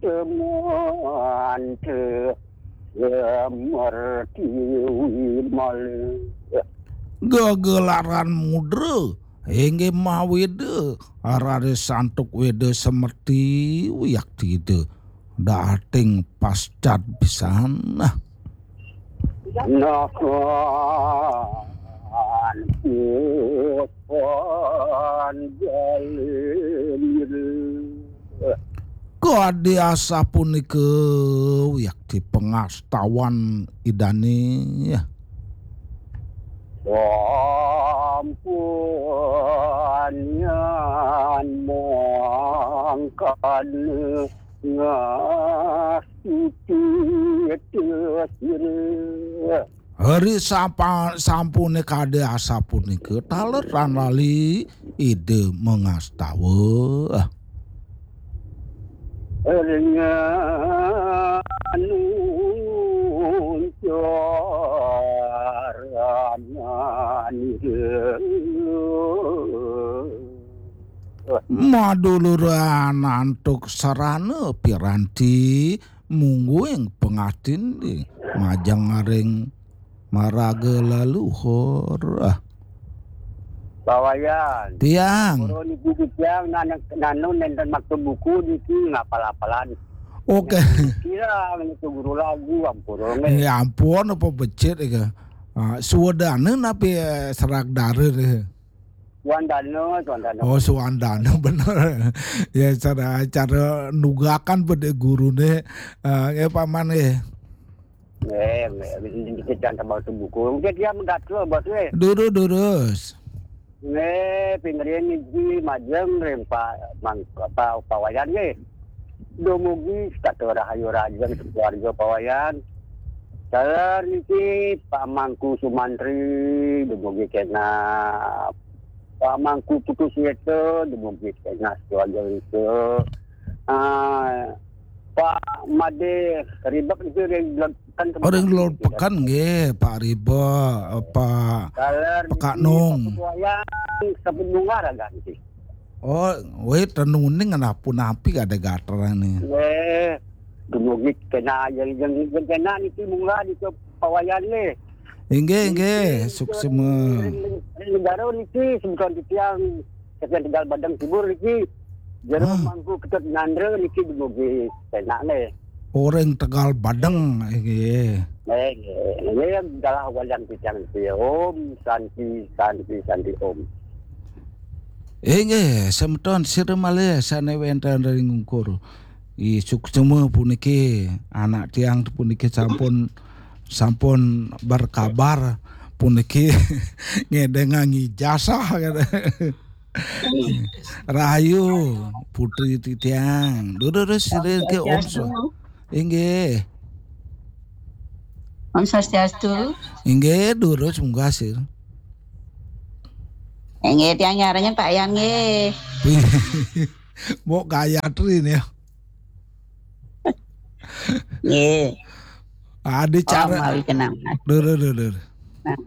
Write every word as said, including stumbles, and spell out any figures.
Teman teu semerti wimalih. Gegelaran mudra, inggih mawida, raris antuk wida semerti wiakti ida. Dating pascat pisan. Nah. Nakan pupan jalir. Kadi asapunika wiakti pangastawan idane. Sampun yan mangkana ngasuci tesir. Hari sapa sampune kade asapunika taler ran lali ida mangastawa. Ringan uncaran. Maduluran antuk sarana piranti mungguing pangatin di majeng aring maraga leluhur. Ah. Bawayan. Tiang. Purun niki tiang nan-, nanu nenten maksud buku niki ngapal-apalan. Oke. Kira itu guru lagu ampun. Ya ampun apa becik iki. Ah, suwedane napi, eh, serak dara nih. Suandana, Suandana. Oh, Suandana bener. Ya cara, cara nugakan pada gurune, eh, ya paman ya. Nggih, nggih, nggih, jangan tambah buku. Mungkin dia menggatel, Bos, nggih. Durus, durus. Nggih, pingrin niki majeng ring pa-, mang-, pa-, pawayan nggih. Dumugi setata rahayu rajeng keluarga pawayan. Saler niki Pak Mangku Sumantri, dumugi kena Pak Mangku Putus Weta, dumugi kena keluarga itu. Ah, Pak Made Ribek itu ring Lor Pekan. Oh, ring Lor Pekan nggih, Pak Ribek, Pak Saler niki Pekak Nung. Pak Ketuayan, sampun munggah raga niki. Oh, weh, tenuning ngena punapi kada gaterane. Nggih, dumugi kena yang, yang, yang kena niki munggah niki pawayan nggih. Inggih, inggih, suksema. Ring, ring negara niki semeton titiang saking Tegal Badeng Timur niki. Jero Ah. Mangku Ketut Nandra niki dumugi kena nggih. Orang Tegal Badeng, inggih. Nggih, nggih. Nggih, dalah wayang titiang niki. Om Santi, Santi, Santi, Om. Inggih, semeton sira malih sane wenten ring ungkur. I suksema puniki anak tiang puniki sampun, sampun berkabar puniki ngedengang ijazah kata. Rahayu putri titiang. Durus sira ke Om Swa-, Swastiastu. Inggih. Om Swastiastu. Inggih, durus munggah sir. Inggih, tiang nyarannya Pak Yan nggih. Mbok Gayatri nih. Nggih. Ada cara. Mawi kenang. Dur, dur, dur, dur. Nah.